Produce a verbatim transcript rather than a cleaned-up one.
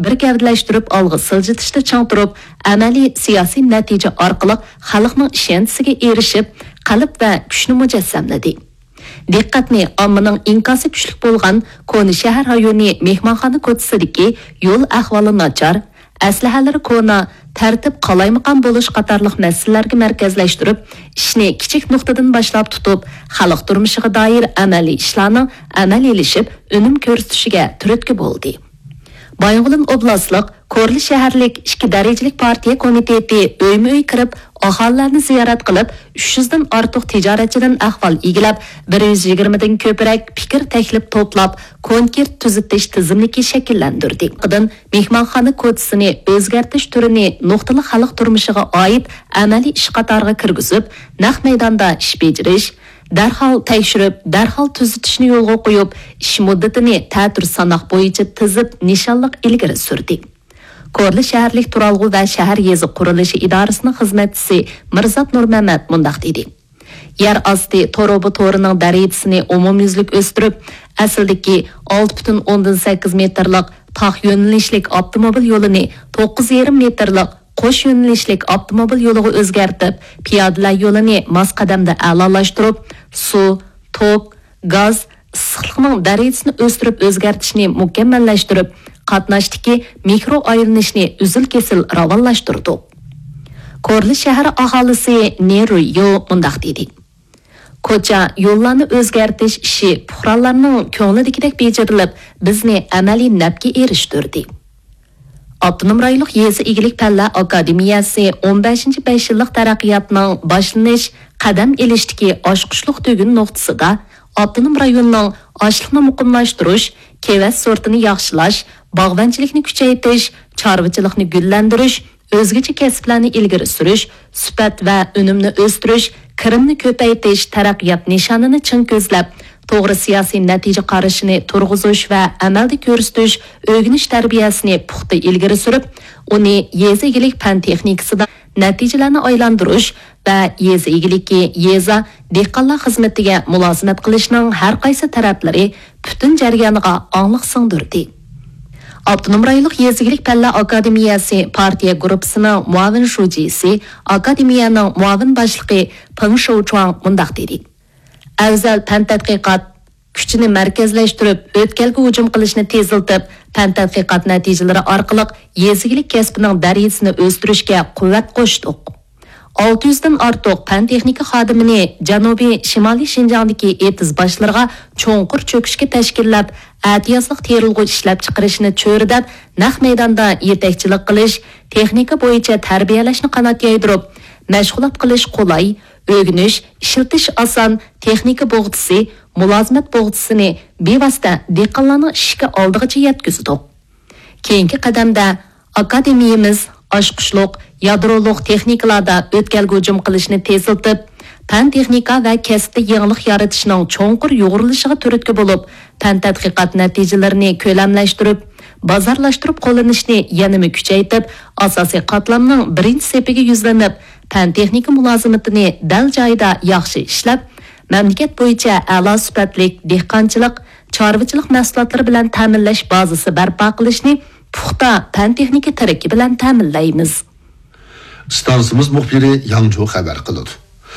بىر گەۋدىلەشتۈرۈپ ئالغا سىلجىتىشتا چىڭ تۇرۇپ، ئەمەلىي سىياسىي نەتىجە ئارقىلىق خەلقنىڭ ئىشەنچىسىگە ئېرىشىپ، قەلب ۋە كۈچنى مۇجەسسەملىدى. دىققەتنى ئاممىنىڭ ئىنكاسى كۈچلۈك بولغان كونا شەھەر رايونى مېھمانخانا كوچىسىدىكى يول ئەھۋالى ناچار، ئەسلىھەلىرى كونا، تەرتىپ قالايمىقان بولۇش قاتارلىق مەسىلىلەرگە مەركەزلەشتۈرۈپ، ئىشنى كىچىك نۇقتىدىن باشلاپ تۇتۇپ، خەلق تۇرمۇشىغا دائىر ئەمەلىي ئىشلارنىڭ ئەمەلىيلىشىپ، ئۈنۈم كۆرسىتىشىگە تۈرتكە بولدى. بايىنغولىن ئوبلاستلىق كورلا شەھەرلىك ئىككى دەرىجىلىك پارتىيە كومىتېتى ئۆيمۇ ئۆي كىرىپ، ئاھالىلەرنى زىيارەت قىلىپ، ئۈچ يۈزدىن ئارتۇق تىجارەتچىدىن ئەھۋال ئىگىلەپ، بىر يۈز يىگىرمىدىن كۆپرەك پىكىر تەكلىپ توپلاپ، كونكرېت تۈزىتىش تىزىملىكى شەكىللەندۈردى. مېھمانخانا كوچىسىنى ئۆزگەرتىش تۈرىنى نۇقتىلىق خەلق تۇرمۇشىغا ئائىت ئەمەلىي ئىش قاتارىغا كىرگۈزۈپ، نەق مەيداندا ئىش بېجىرىش، دەرھال تەكشۈرۈپ، دەرھال تۈزىتىشنى يولغا قويۇپ، ئىش مۇددىتىنى تەتۈر ساناق بويىچە تىزىپ، نىشانلىق ئىلگىرى سۈردى. كورلا شەھەرلىك تۇرالغۇ ۋە شەھەر يېزا قۇرۇلۇشى ئىدارىسىنىڭ خىزمەتچىسى مىرزات نۇرمەمەت مۇنداق دېدى: يەر ئاستى تۇرۇبا تورىنىڭ دەرىجىسىنى ئومۇميۈزلۈك ئۆستۈرۈپ، ئەسلىدىكى ئالتە پۈتۈن ئوندىن سەككىز مېتىرلىق تاق يۆنىلىشلىك ئاپتوموبىل يولىنى توققۇز يېرىم مېتىرلىق قوش يۆنىلىشلىك ئاپتوموبىل يولىغا ئۆزگەرتىپ، پىيادىلەر يولىنى ماس قەدەمدە ئەلالاشتۇرۇپ، سۇ، توك، گاز، ئىسسىقلىقنىڭ دەرىجىسىنى ئۆستۈرۈپ ئۆزگەرتىشنى مۇكەممەللەشتۈرۈپ، قاتناشتىكى مىكرو ئايلىنىشنى ئۈزۈل-كېسىل راۋانلاشتۇردۇق. كورلا شەھەر ئاھالىسى نې رۇييو مۇنداق دېدى: كوچا، يوللارنى ئۆزگەرتىش ئىشى پۇقرالارنىڭ كۆڭلىدىكىدەك بېجىرىلىپ، بىزنى ئەمەلىي نەپكە ئېرىشتۈردى. ئاپتونوم رايونلۇق يېزا ئىگىلىك پەنلەر ئاكادېمىيەسى ئون بەشىنچى بەش يىللىق تەرەققىياتنىڭ باشلىنىش، قەدەم ئېلىشتىكى ئاچقۇچلۇق تۈگۈن نۇقتىسىدا ئاپتونوم رايوننىڭ ئاشلىقنى مۇقىملاشتۇرۇش، كېۋەز سورتىنى ياخشىلاش، باغۋەنچىلىكنى كۈچەيتىش، چارۋىچىلىقنى گۈللەندۈرۈش، ئۆزگىچە كەسىپلەرنى ئىلگىرى سۈرۈش، سۈپەت ۋە ئۈنۈمنى ئۆستۈرۈش، كىرىمنى كۆپەيتىش تەرەققىيات نىشانىنى چىڭ كۆزلەپ، توغرا سىياسىي نەتىجە قارىشىنى تۇرغۇزۇش ۋە ئەمەلدە كۆرسىتىش، ئۆگىنىش تەربىيەسىنى پۇختا ئىلگىرى سۈرۈپ، ئۇنى يېزا ئىگىلىك پەن تېخنىكىسىدا نەتىجىلەرنى ئايلاندۇرۇش ۋە يېزا ئىگىلىكى، يېزا، دېھقانلار خىزمىتىگە مۇلازىمەت قىلىشنىڭ ھەر قايسى تەرەپلىرى پۈتۈن جەريانىغا ئاڭلىق سىڭدۈردى. ئاپتونوم رايونلۇق يېزا ئىگىلىك پەنلەر ئاكادېمىيەسى پارتىيە گۇرۇپپىسىنىڭ مۇئاۋىن شۇجىسى، ئاكادېمىيەنىڭ مۇئاۋىن باشلىقى پېڭ شوچۇاڭ مۇنداق دېدى: ئەۋزەل پەن تەتقىقات كۈچىنى مەركەزلەشتۈرۈپ، ئۆتكەلگە ھۇجۇم قىلىشنى تېزلىتىپ، پەن تەتقىقات نەتىجىلىرى ئارقىلىق يېزا ئىگىلىك كەسپىنىڭ دەرىجىسىنى ئۆستۈرۈشكە قۇۋۋەت قوشتۇق. ئالتە يۈزدىن ئارتۇق پەن تېخنىكا خادىمىنى جەنۇبىي شىمالىي شىنجاڭدىكى ئېتىز باشلىرىغا چوڭقۇر چۆكۈشكە تەشكىللەپ، ئەتىيازلىق تېرىلغۇ ئىشلەپچىقىرىشنى چۆرىدەپ، نەق مەيداندا يېتەكچىلىك قىلىش، تېخنىكا بويىچە تەربىيەلەشنى قانات يايدۇرۇپ، مەشغۇلات قىلىش قولاي، ئۆگىنىش، ئىشلىتىش ئاسان، تېخنىكا بوغچىسى، مۇلازىمەت بوغچىسىنى بىۋاسىتە دېھقانلارنىڭ ئىشىكى ئالدىغىچە يەتكۈزدۇق. كېيىنكى قەدەمدە ئاكادېمىيىمىز ئاچقۇچلۇق، يادرولۇق تېخنىكىلاردا ئۆتكەلگە ھۇجۇم قىلىشنى تېزلىتىپ، پەن-تېخنىكا ۋە كەسىپتە يېڭىلىق يارىتىشنىڭ چوڭقۇر يۇغۇرۇلۇشىغا تۈرتكە بولۇپ، پەن تەتقىقات نەتىجىلىرىنى كۆلەملەشتۈرۈپ، بازارلاشتۇرۇپ قوللىنىشنى يەنىمۇ كۈچەيتىپ، ئاساسىي قاتلامنىڭ بىرىنچى سېپىگە يۈزلىنىپ، پەن-تېخنىكا مۇلازىمىتىنى دەل جايىدا ياخشى ئىشلەپ، مەملىكەت بويىچە ئەلا سۈپەتلىك دېھقانچىلىق، چارۋىچىلىق مەھسۇلاتلىرى بىلەن تەمىنلەش بازىسى بەرپا قىلىشنى پۇختا پەن-تېخنىكا تىرىكى بىلەن تەمىنلەيمىز. ئىستانسىمىز مۇخبىرى ياڭجۇ خەۋەر قىلىدۇ.